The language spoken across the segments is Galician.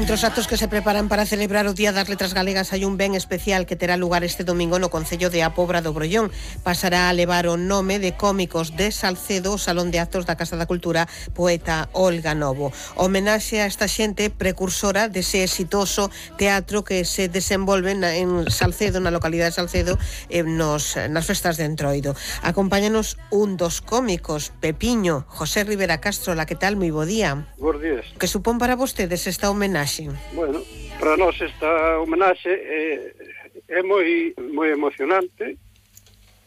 Entre os actos que se preparan para celebrar o Día das Letras Galegas hai un ben especial que terá lugar este domingo no concello de A Pobra do Brollón. Pasará a levar o nome de Cómicos de Salcedo, o Salón de Actos da Casa da Cultura Poeta Olga Novo. Homenaxe a esta xente precursora dese exitoso teatro que se desenvolve en Salcedo, na localidade de Salcedo, nas festas de Entroido. Acompáñanos un dos cómicos, Pepiño, José Rivera Castro. La, que tal? Moi bo día. Bos días. Que supón para vostedes esta homenaxe? Bueno, para nós esta homenaxe é moi emocionante.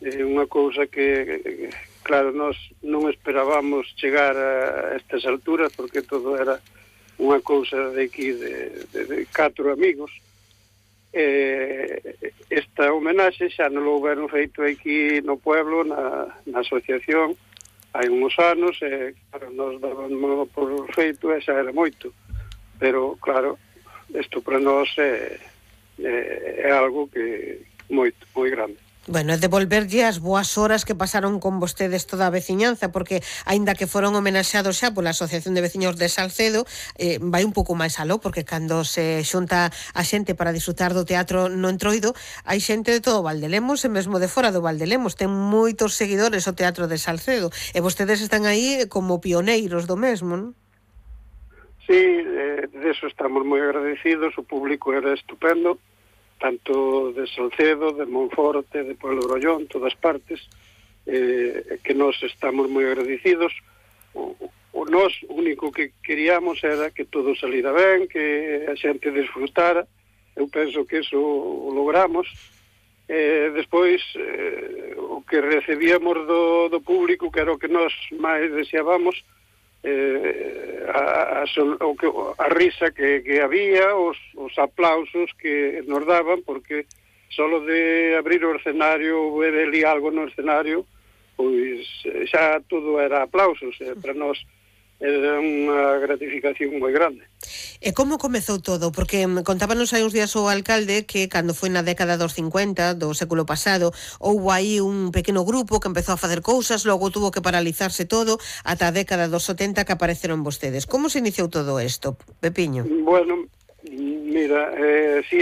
É unha cousa que, claro, nós non esperábamos chegar a estas alturas, porque todo era unha cousa de aquí, de 4 amigos. Esta homenaxe xa non lo houveron feito aquí no pueblo, na asociación, hai uns anos, claro, nos dábamos por feito e xa era moito. Pero, claro, isto para nós é algo que moi grande. Bueno, é devolverlle as boas horas que pasaron con vostedes toda a veciñanza, porque, aínda que foron homenaxeados xa pola Asociación de Veciños de Salcedo, vai un pouco máis aló, porque cando se xunta a xente para disfrutar do teatro no Entroido, hai xente de todo o Valdelemos e mesmo de fora do Valdelemos. Ten moitos seguidores o Teatro de Salcedo, e vostedes están aí como pioneiros do mesmo, non? Sí, de eso estamos moi agradecidos, o público era estupendo, tanto de Salcedo, de Monforte, de Pueblo Brollón, todas partes, que nós estamos moi agradecidos. O nós, o único que queríamos era que todo salira ben, que a xente disfrutara. Eu penso que eso o logramos. Despois, o que recibíamos do público, que era o que nós máis deseábamos, a risa que había, os aplausos que nos daban, porque solo de abrir o escenario, ver ali algo no escenario, pois xa todo era aplausos. Para nós era unha gratificación moi grande. E como comezou todo? Porque contábanos hai uns días o alcalde que cando foi na década dos 50 do século pasado houbo aí un pequeno grupo que empezou a facer cousas, logo tuvo que paralizarse todo ata a década dos 70 que apareceron vostedes. Como se iniciou todo isto, Pepiño? Bueno, mira, si